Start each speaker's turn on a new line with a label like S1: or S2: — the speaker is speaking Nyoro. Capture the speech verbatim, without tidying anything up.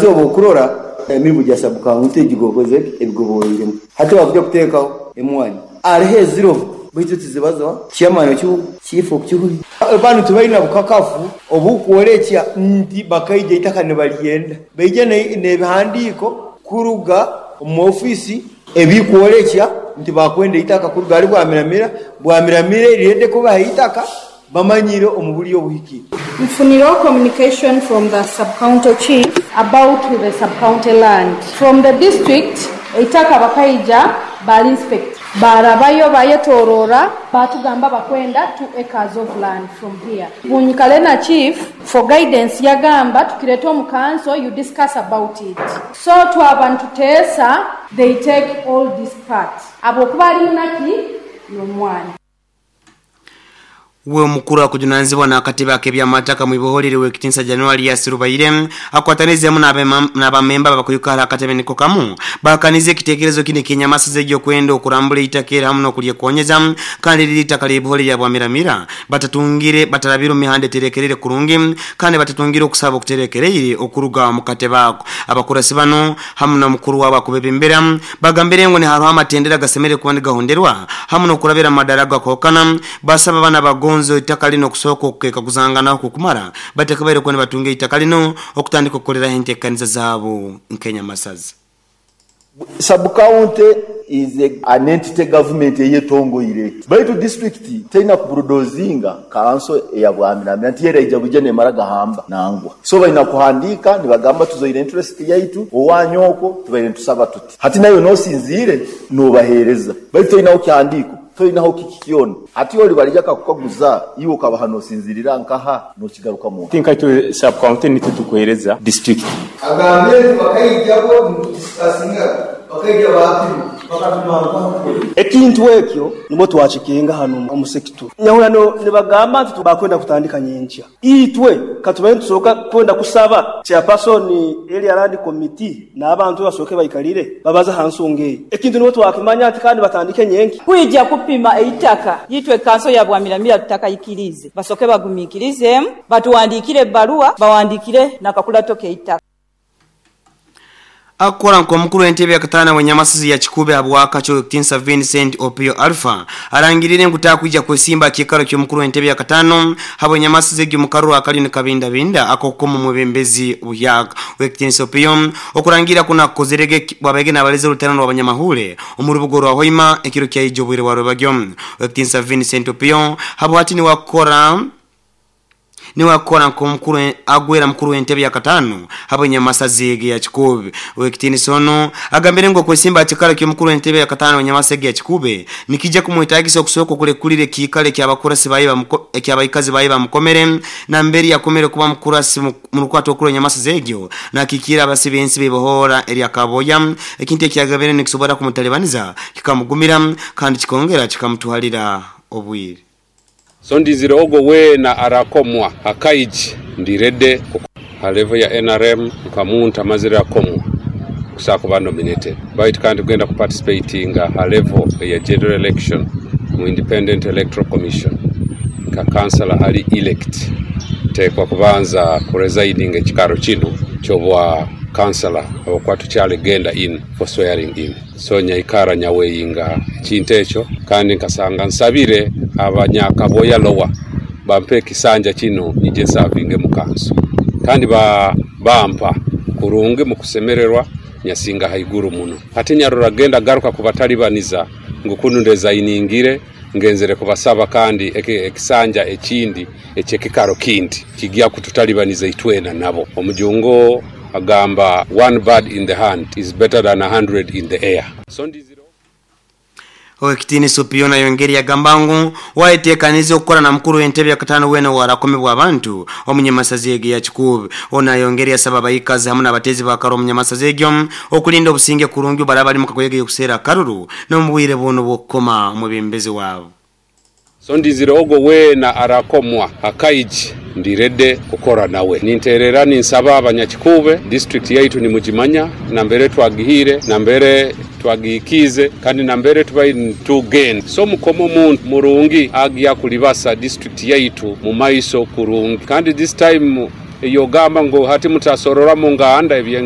S1: Obu okurora emirimu gya sub-county egigokoze ebigoboiremu hati wakuja kuteekaho emwanya hariho eziro baitu tizibazo chairman chief okukihuri abantu tibalina bukakafu obukworekya nti bakaija itaka nibalyenda baija n'ebihandiiko kuruga omu ofiisi ebikworekya nti bakwenda itaka kuruga ari Bwamiramira. Bwamiramira erirede kubaha itaka bamanyire omu buryo obuhikire.
S2: Mfuniro communication from the sub-county chief about the sub-county land. From the district, eitaka bakaija bali inspect. Barabayo bayetorora batugamba bakwenda two acres of land from here. Bunyikale na chief for guidance yagamba tukireta omu council, you discuss about it. So twaba nituteesa, they take all this part. Abokuba ali munaki n'omwana.
S3: We omukuru akujunanizibwa n'akatebe ak'ebyamataka mu iboholere w'ekitinsa January yasirubaire akwatanizemu n'abamemba abakuyukara akatebe niko kamu bakanize ekitekerezo kine kenyamasa egyokwenda okurambula itaka era hamu n'okulyekonyeza kandi riri itaka ly'iboholere lya Bwamiramira batatungire batarabira omu mihanda eterekerere kurungi kandi batatungire okusaba okuterekereire okuruga mu katebe ako. Abakurasi bano hamu n'omukuru wabo akubebembera bagambire ngu nihariho amatendera gasemere kuba nigahonderwa hamu n'okurabira amadara gakokana basaba abana bagonzo itaka lino kusooka okukeka kuzangana kukumara batakabaire kuba nibatunga itaka lino okutandika okukoleraho enteekaniza zaabo nk'enyamasazi.
S4: Sub-county is a, an entity government eyetongoire baitu district teina kubulldozinga kanso eya Bwamiramira nti yeraija buje nemara gahamba nangwa so balina kuhandika nibagamba tuzoire interest yaitu owanyoko tubaire tusaba tuti hati nayo nosinzire nobahereza baitu toinaho kihandiko toinaho kikikyona ati oli balija kakukaguza iwe ukabaha nosinzirira nkaha nokigaruka mu
S5: tinka itu sub county nitwe tukuhereza district
S1: agambire nti bakaijako nitudiskasinga bakaija bapima bakapima
S6: ekintu ekyo nimwo twakikinga hano omusekitu nyahurano nibagamba nti bakwenda kutandika nyenkya itwe katubaye tusoka kwenda kusaba chairperson area land committee n'abantu basoke bayikalire babaza hansonga eyo ekintu nimwo twakimanya ati kandi batandike nyenki
S7: kwijja kupima eitaka yitwe kanso ya Bwamiramira tutakayikirize basoke bagumikirize batuwandikire ebbaluwa bawandikire nakakulato keitaka.
S3: Akora nko mukuru w'entebe ya katana wenyamasizi ya Kikube abwaka kyo Tinsa Vincent Opio Alpha arangirire ngutakwija kwesimba kikaro kyo mukuru w'entebe ya katano habo nyamasizi egyo mukaruru akali ni kabinda binda akokoma mwebembezi buyaga Tinsa Opio okurangira kuna kozerege bwabege nabaleze rutano rw'abanyamahule omurubugo rwa Hoima ekiro kya ijobwire wa Rwabagyo. Tinsa Vincent Opio habo hati ni wakora niwakora nko mukuru agwera mukuru w'entebe ya katano habo nyamasazi ya Kikube. Wekitini sono agambire ngo kwesimba kikala kyo mukuru w'entebe ya katano nyamasazi ya Kikube nikija kumuhitagisa okusoko kule kulire kikale kya bakurasi bayiba ekyabayikazi bayiba mukomere na mberi yakomere kuba mukurasi mu rukwato okuro nyamasazi egyo na kikira abasibensi bebohora eri akaboya ekintu ekyagabere nikisobora kumutalebaniza kikamugumira kandi kikongera kikamutuhalira obwire.
S8: So ndizire ogo wena arakomwa akaiji ndirede ha level ya N R M nkamuntu amazire akomwa kusaka kuba nominated bait kandi kugenda kuparticipatinga ha level ya general election mu Independent Electoral Commission ka councilor ali elect tekwa kubanza kuresiding ekikaro kino kyobwa councilor okwatu kyale genda in for swearing in so nyaikara nyaweyinga ekintu ekyo kandi nkasanga nsabire abanyakaboya lowa bampe kisanja kino nije savinge mu kanso kandi ba bampa kurungi mu kusemererwa nyasinga haiguru muno ate nyarora genda garuka kubatalibaniza ngukunu ndeza iningire ngenzere kubasaba kandi ekisanja ekindi ekyekikaro kindi kijya kututalibaniza itwena nabo. Omujungo agamba one bird in the hand is better than a hundred in the air. So ndiziro
S3: Owekitini Supiona yongeri ya gambangu waiteekanize okukora na mukuru w'entebe ya katano wena warakomebwa abantu omunyamasazi ege ya Kikube. Ona yongeri yasaba abayikazi hamwe n'abatezi bakaro omunyamasazi egyo okulinda obusinge kurungi barabali mu kagoyege yokuseera akaruru n'omubwire buno bw'okukoma omubembezi waabo.
S8: So ndizire ogo wena arakomwa akaiji ndirede kukora nawe ninterera ninsaba abanyakikube district yaitu ni mujimanya nambere twagihire nambere twagikize kandi nambere tubayi tugen so mukomo muntu murungi agiya kulibasa district yaitu mu maiso kurungi kandi this time yogamba ngo hati mutasorora mu nganda ebyenga.